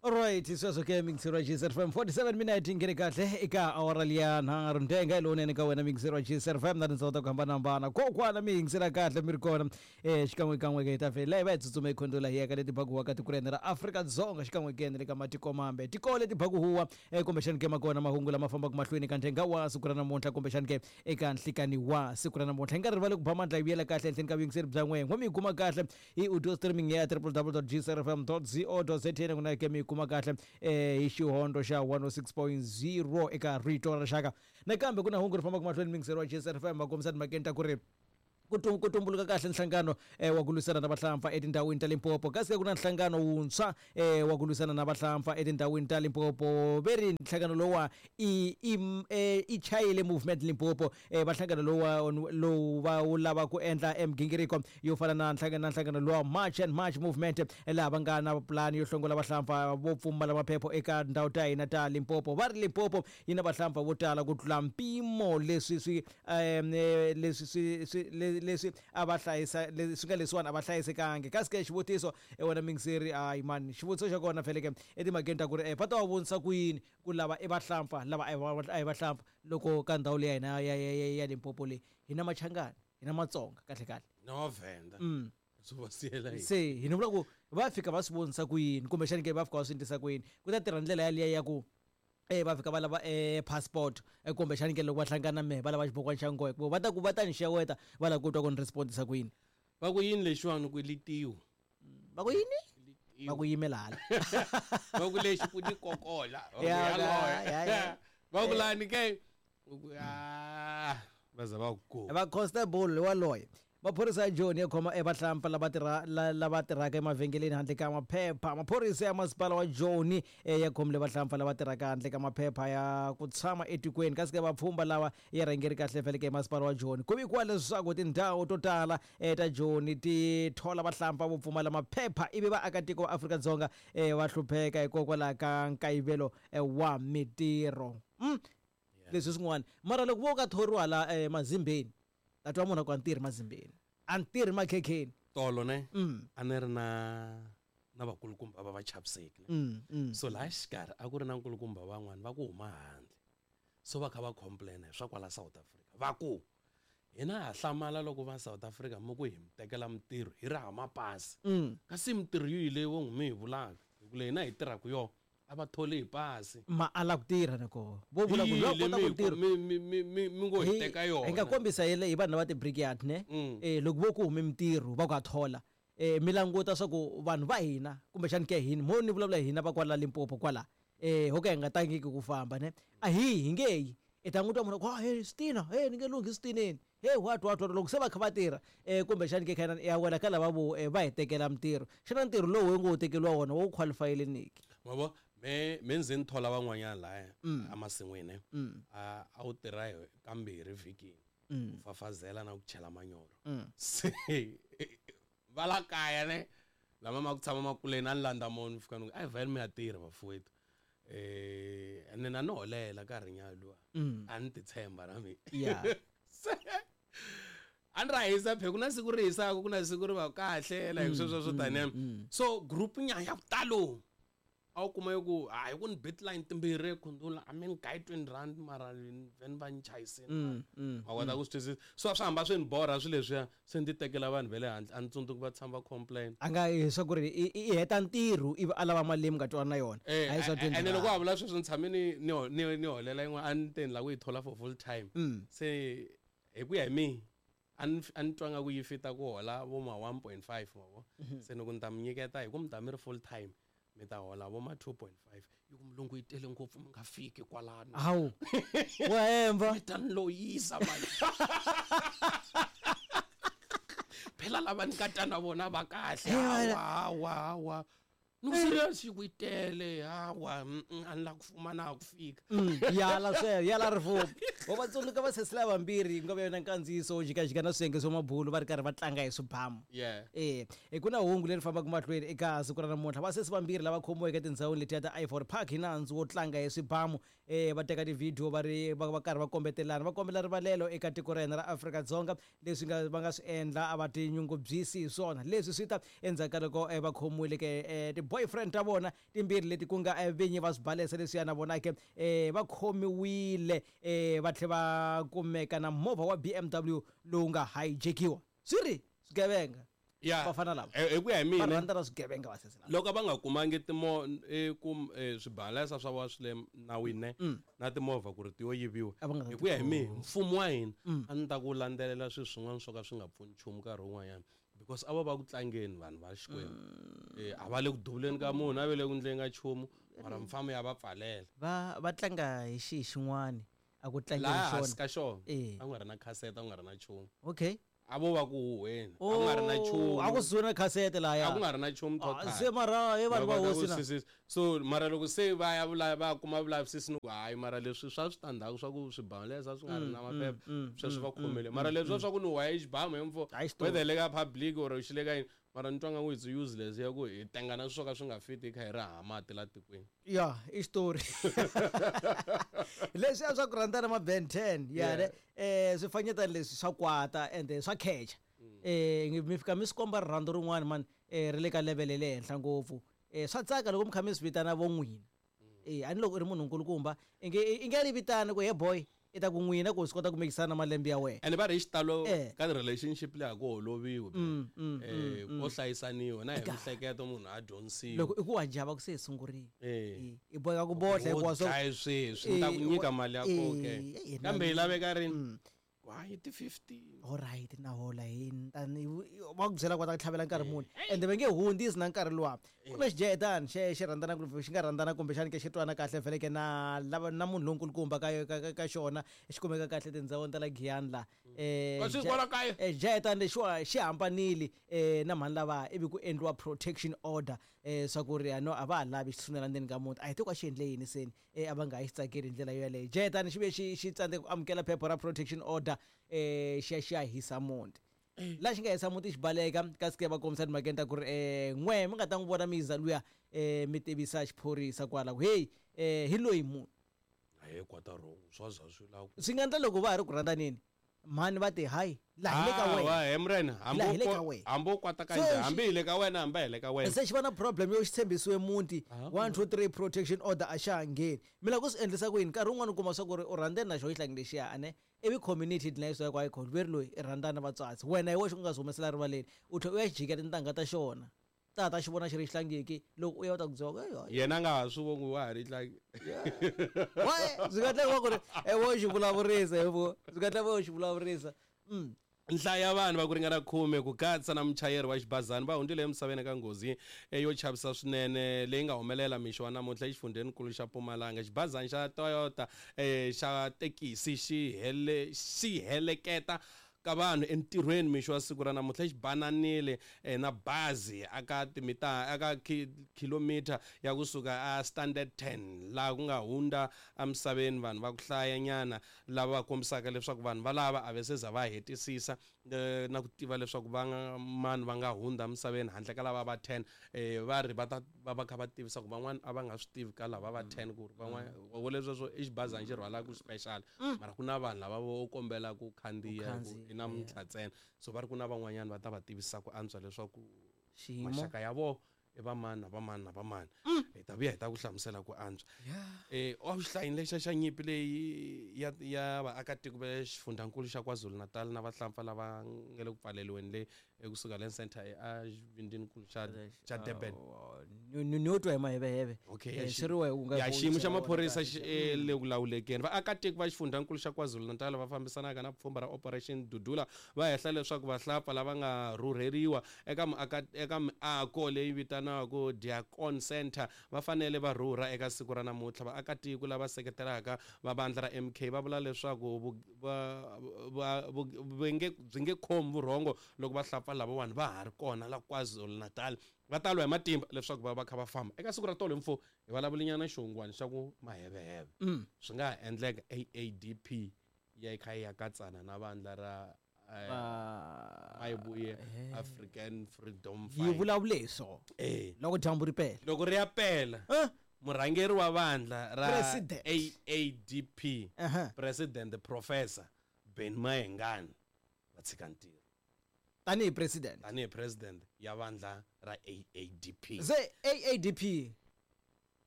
Alright, sweswo ke mixer wa GSR FM 47 minute nghene kahle eka awara liya nharhu ndenga hi lowunene ka wena mixer wa GSR FM na tindhawu ta ku hambanahambana kokwana mi yingisela kahle mi ri kona eh xikan'wekan'we ke hi ta vhela hi va hi tsutsuma hi khondola hi ya ka leti bakuhuwa ka tiko ra hina ra Afrika-Dzonga xikan'we ke na le ka matiko mambe tiko leti bakuhuwa eh kumbexani ke ma kona mahungu lama fambaka mahlweni ka ndenga wa siku ra namuntlha kumbexani ke eka nhlikani wa siku ra namuntlha hi nga rivali ku ba mandla hi vuyela kahle ehenhleni ka vuyingiseri bya n'wehe n'we mi yi kuma kahle hi audio streaming ya www.gcrfm.co.za na ke mi yi kuma kahle eh, hi xihondo xa 106.0 eka rito ra rixaka nakambe ku na hungu ri fambaka mahlweni muyingiseri wa gcrfm va kombisa timhakeni ta ku ri ku ku tumbuluka kahle nhlangano eh, wa ku lwisana na vahlampfa etindhawini ta Limpopo kasi ku na nhlangano wuntshwa eh, wa ku lwisana na vahlampfa etindhawini ta Limpopo ve ri nhlangano lowa i i eh, i chayile movement Limpopo eh, va nhlangano lowa lowu va wu lava ku endla emigingiriko yo fana na nhlangano na nhlangano lowa March and March movement eh, laha va nga na pulani yo hlongola vahlampfa vo pfumala maphepho eka ndhawu ta hina ta Limpopo va ri Limpopo yi na vahlampfa vo tala ku tlula mpimo leswi swi um leswi swi swi leswi a va hlayisa swi nga leswiwani a va hlayisekangi kasi ke xivutiso e wena mingiseri hayi mani xivutiso xa kona feleke etimhakeni ta ku ri va ta va vonisa ku yini ku lava i vahlampfa lava a hi vahlampfa loko ka ndhawu leyi ya hina ya ya ya Limpopo leyi hi na Machangani hi na Matsonga kahle kahle na Vavhenda mm. swi va siyela yini se hi ni vula ku va fika va swi vonisa ku yini kumbexani ke va fika va swi endlisa ku yini ku ta tirha ndlela yaliya ya ku e va fika va lava e passport e kumbexani ke loko va hlangana mehe va lava xibokwana xa nghohe ku va ta ku va ta ni xeweta va lava ku twa ku ni respondisa ku yini va ku yini lexiwani ku litiwa va ku yini va ku yimela hala va ku lexi ku ni kokola Ya, ya, ya. va ku lani ke U ku ah va za va ku go va constable waloye Maphorisa ya Joni ya khoma evahlampfa lava tirha lava tirhaka emavhengeleni handle ka maphepha. Maphorisa ya masipala wa Joni eh, ya khomile vahlampfa lava tirhaka handle ka maphepha ya ku tshama etikweni kasi ke vapfhumba lava ya rhangeri kahle feleke hi masipala wa Joni. Ku vikiwa leswaku tindhawu to tala eh, ta Joni ti thola vahlampfa vo pfumala maphepha ivi vaakatiko va Afrika-Dzonga eh, va hlupheka hikokwalaho ka nkayivelo wa mitirho. Mm. Leswi swin'wana mara loko vo ka thoriwa la mazimbeni ta twa munhu a ku a ni tirhi mazimbeni a ni tirhi makhekheni tolo ne mm. a ni ri na na vakulukumba va va chaviseki ne mm, mm. So laha xikarhi a ku ri na nkulukumba van'wana va ku huma handle so va kha va complaina hi swa kwala South Africa va ku hina ha hlamala loko va South Africa mi ku hi mi tekela mintirho hi ri hava mapasi kasi mintirho yihi leyi vo n'wi mi hi vulaka hi ku leyi hina hi tirhaka yona a va tholi hi pasi ma ala ku tirha na koho vo vula ku loyi a kota ku tirha mi mi mi mi mi ngo hi teka yona hi nga kombisa hi hi vanhu lava ti-brickyard ne mm. eh loko vo ku hume mintirho va ku ha thola eh mi languta swa ku vanhu va hina kumbexani ke hina mo ni vulavula hina va kwala Limpopo kwala eh ho ka hi nga tangiki ku famba ne a hi hi nge yi i ta n'wi twa munhu ku ah, hey switina hey ni nge lunghi switineni hey what what what loko se va kha va tirha um kumbexani ke khana ya wela ka lava vo eh, va hi tekela mintirho xana ntirho lowu hi ngo wu tekeriwa wona wo qualifyile niki ma vo me me ndzi ni thola van'wanyana laya mm. emasin'wini mm. a a wu tirha hi kambirhi vhikini mm. ku fafazela na ku chela manyoro se va la kaya ne lama ma ku tshama makuleni a ni landza moni fika ni ku a hi vhele mi ya tirha vafuwetu eh ene na ni holela nkarhinyana luwa mm. a ni titshemba na mina yeah. se a ni ra hisa phe ku na siku ri hisaka ku na siku ri va kahle like mm, sweswo swo taniya mm, mm. So group nyana ya ku talo a wu kuma ku hayi ku ni bit line timbirhi ekhundula a mi ni gayi 20 rand mara veni va ni chayisini mm, mm, ma kota ku swi twisisa so a swi hamba swi ni borha swilo leswiya se ni ti tekela vanhu va le handle a ni tsundzuki va tshama va complain a nga hi swa ku ri i heta ntirho ivi a lava mali leyi mi nga twana na yona eh, a hi swa eh, ene loko a vula sweswo ni tshame ni ni ni ni holela yin'wana a ni te ni lava ku yi thola for full time mm. Se hi ku ya hi mina a ni a ni twa nga ku yi fita ku hola vo ma 1.5 ma vo mhm. Se ni ku ni ta mi nyiketa hi ku mi ta mi ri full time mi ta hola vo ma 2.5 yi ku mulungu yi tele ngopfu mi nga fiki kwalano hawu wa hemba mi ta ni loyisa mani phela lava ni nga ta na vona va kahle hawa hawa hawa ni ku serious yi ku yi tele hawa a ni la ku fuma na ha ku fika mm, yala sweswo yala rifumo vo va tsundzuka va sesi lava vambirhi ku nga va yona nkandziyiso wo jikajika na swiyenge swa mabulu va ri karhi va tlanga hi swibamu yeah e e ku na hungu leri fambaka mahlweni eka siku ra namuntlha vasesi vambirhi lava khomiweke etindhawini letiya ta Ivory Park hi nandzu wo tlanga hi swibamu e va teka tivhidiyo va ri va va karhi va kombetelana va kombela rivalelo eka tiko ra hina ra Afrika-Dzonga Leswi nga va nga swi endla a va tinyungubyisi hi swona. Leswi swi ta endzhaku ka loko eh, va khomiwile ke eh, ti-boyfriend ta vona timbirhi leti ku nga vinyi va swibalesa leswiya na vona ke va khomiwile va tlhe va kumeka na movha wa BMW lowu nga hijackiwa. Swi ri swigevenga. Ya Vafana lava. Hi ku ya hi Va mina rhandza na swigevenga vasesi lava. Loko va nga kumangi timo swibalesa swa vona swi le nawini ne na timovha ku ri ti yo yiviwa. A va nga ta Hi ku ya hi ti mina, mfumo wa hina a ni ta ku landzelela swilo swin'wana swo ka swi nga pfuni nchumu nkarhi wun'wanyana, because a va va ku tlangeni vanhu va Xikwembu. A va le ku duvuleni ka munhu, a va le ku ndleni ka nchumu, mara mfamo ya va pfalela. Va tlanga hi xihi xin'wana a ku tlangeni Laha xona? hansi ka xona Eh. a ku nga ri na khasete, a ku nga ri na nchumu. Okay. A vo va ku huhweni, a ku nga ri na nchumu. A ku suwe na khasete lahaya. A ku nga ri na nchumu total. Se mara he vanhu va Loko va hosi ku na. sisi, so mara loko se va ya va kuma vulavisisi ni ku hayi, mara leswi swa switandzhaku swa ku swibalesa swi nga ri na maphepha, sweswo va khomile. Mara leswi swa ku ni huwa xibamu hi mfo, Hayi, xitori. whether le ka public or xi le ka yini, mara ni twa nga ku it's useless ya ku hi tenga na swo ka swi nga fiti hi kha hi ri hava mati la tikweni. Ya, i xitori. Leswiya swa ku rhandzana ma Ben 10, ya ne, swifanyetana leswi swa kwata ende swa khecha. Mi fika mi swi komba rirhandzu rin'wana man, ri le ka level ya le henhla ngopfu. Swa tsaka loko mi kha mi swi vitana vo n'wina. A ni loko u ri munhu nkulukumba, i nge ri vitani ku he boy, i ta ku n'wina ku swi kota ku mikisana malembe ya wena. Ene va ri hi xitalo ka relationship leyi a ku holoviwi, ko hlayisaniwa na hi mihleketo munhu a dyondzisiwa. Loko i ku wa java ku se hi sungurile. I boheka ku bohla hikuva Wo dlaye sweswi, ni ta ku nyika mali ya koho ke. Kambe yi laveka rini? Hayi, ti 15. All right, na hola hi ni ta ni va ku byela ku va ta ku tlhavela nkarhi muni. Ende va nge hundzisi na nkarhi luwa. Ku na xijahetani xe rhandzana kumbe xi nga rhandzana kumbexani ke xi twana kahle vhele ke na lava na munhu lonkulukumba ka xona, xi kumeka kahle tindhawini ta la Giyani la. Kasi kwala kaya? Xijahetani lexiwa xi hambanile na mhani lava, ivi ku endliwa protection order, swa ku ri no a va ha lavi xi tshunela ndzeni ka muti. A hi tivi ku a xi endle yini seni, a va nga ha xi tsakeli hi ndlela yoyaleyo. Xijahetani xi ve xi tsandzeka ku amukela phepha ra protection order, xi ya hisa muti. Laha xi nga hisa muti xi baleka, kasi ke va kombisa timhakeni ta ku ri, n'we mi nga ta n'wi vona mi yiza luya, mi tivisa xiphorisa kwala ku hey, hi loyi munhu. Hayi, kwata wrong, swa za swi lava ku Swi nga endla loko va ha ri ku rhandzaneni, mhani va te hayi, laha hi le ka Ah, wena. wa, he murena, Laha hi le ka wena. hambi u kwata ka Se njhani, xi hambi hi le ka wena, hambi hi le ka wena. Se xi va na problem yo xi tshembisiwe muti, Ah. 1 2 3 protection order a xa ha ngheni. Mi lava ku swi endlisa ku yini? Nkarhi wun'wani u kuma swa ku ri u rhandzeni na xona xihlangi lexiya, ane ivi community yi dlina yi ku hayi khona, veri loyi i rhandzana na vatswatsi. Wena hi wexe u nga swi humesela rivaleni, u tlhela u ya xi jikela tintangha ta xona. Ta ta xi vona xi ri xihlangiki, loko u ya u ta ku byela ku, hey, hayi. Yena a nga ha swi voni ku wa ha ri xihlangi. Why? Swi nga tlhela ku ri, wo xi vulavurisa, he vo. Swi nga tlhela wo xi vulavurisa. Nhlayo ya vanhu va ku ringana 10 ku katsa na muchayeri wa xibazana va hundzile emisaveni ka nghozi yo chavisa swinene leyi nga humelela mixo wa namuntlha exifundzenikulu xa Mpumalanga. Xibazana xa Toyota xa tekisi xi heleketa ka vanhu entirhweni mixo wa siku ra namuntlha, xi bananile na bazi aka timita aka kilometer ya kusuka a Standard 10 laha ku nga hundza emisaveni vanhu va ku hlayanyana lava va kombisaka leswaku vanhu valava a va se za va hetisisa na ku tiva leswaku va nga mani va nga hundza emisaveni handle ka lava va 10, va ri va ta va va kha va tivisa ku van'wana a va nga swi tivi ka lava va 10 ku ri van'wana wo leswo i xibazana xi rhwalaka special, mara ku na vanhu lava vo kombela ku khandziya Ku ku khandziya, i namuntlha ntsena, so va ri ku na van'wanyana va ta va tivisa ku antswa leswaku Xiyimo. maxaka ya vona i va mani na va mani na va mani. Hi ta vuya hi ta ku hlamusela ku antswa. A wu xihlayini lexa xa nyimpi leyi ya vaakatiko va xifundzankulu xa KwaZulu-Natal na vahlampfa lava nga le ku pfaleriweni le ekusuka le center a xivindininkulu xa Durban. Ni yo twa hi maheveheve. Okay, Swi ri wehe u nga ya ku xiyimo xa chela wona maphorisa kahle. xi le ku lawulekeni. Vaakatiko va xifundzankulu xa KwaZulu-Natal va fambisanaka na pfhumba ra Operation Dudula va hehla leswaku vahlapfa lava nga rhurheriwa eka miako leyi vitaniwaka Diakon Center va fanele va rhurha eka siku ra namuntlha. Vaakatiko lava seketelaka va vandla ra MK va vula leswaku byi nge khomi vurhongo loko vahlapfa lavawani va ha ri kona la KwaZulu-Natal. Va ta lwa hi matimba leswaku va va kha va famba. Eka siku ra tolo hi mfo hi vulavulinyana xihungwani xa ku maheveheve. Swi nga ha endleka AADP ya kha yi ya katsana na vandla ra Mayibuye African Freedom Yi Fight. vulavule hi swona. Loko dyambu ri pela. Loko ri ya pela. Murhangeri wa vandla ra President. AADP, President Professor Ben Mayengani va tshika ntirho. Tanihi president. Tanihi president ya vandla ra AADP. Se AADP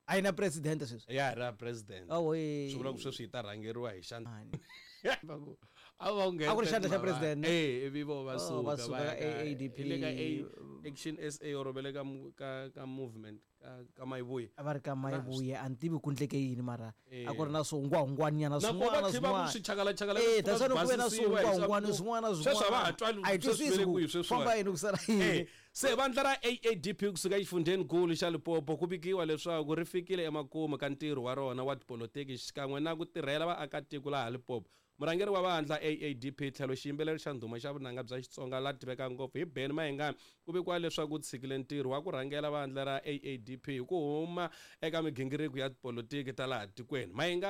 a yi na president sweswi? Ya ra president. Oh, swi vula ku sweswi yi ta rhangeriwa hi xandla. Va ku a va a ku ri xandla xa president? Eh, ivi vo va Oh, va suka suka va ya ka AADP. Hi le ka Action SA or va le ka movement ka Mayivuye. A va ri ka Mayivuye, a ni tivi ku ndleke yini, mara Eh. a ku ri na swihungwahungwanyana Na ko va swin'wana tlhe va ku swin'wana. swichakalachakala. Eh, that's why ku ve na swihungwahungwana swin'wana. Sweswi a va ha Swin'wana twali. A hi Sweswi twisisi ve le ku kwihi sweswiwani? famba yini, ku sala yini. Eh, se vandla ra AADP kusuka exifundzhenikulu xa Limpopo ku vikiwa leswaku ri fikile emakumu ka ntirho wa rona wa tipolotiki xikan'we na ku tirhela vaakatiko laha Limpopo. Murhangeri wa vandla AADP tlhelo xiyimbeleri xa ndhuma xa vunanga bya Xitsonga la tiveka ngopfu hi Benny Mayengani ku vikiwa leswaku u tshikile ntirho wa ku rhangela vandla ra AADP hi ku huma eka migingiriko ya tipolotiki ta laha tikweni. Mayengani.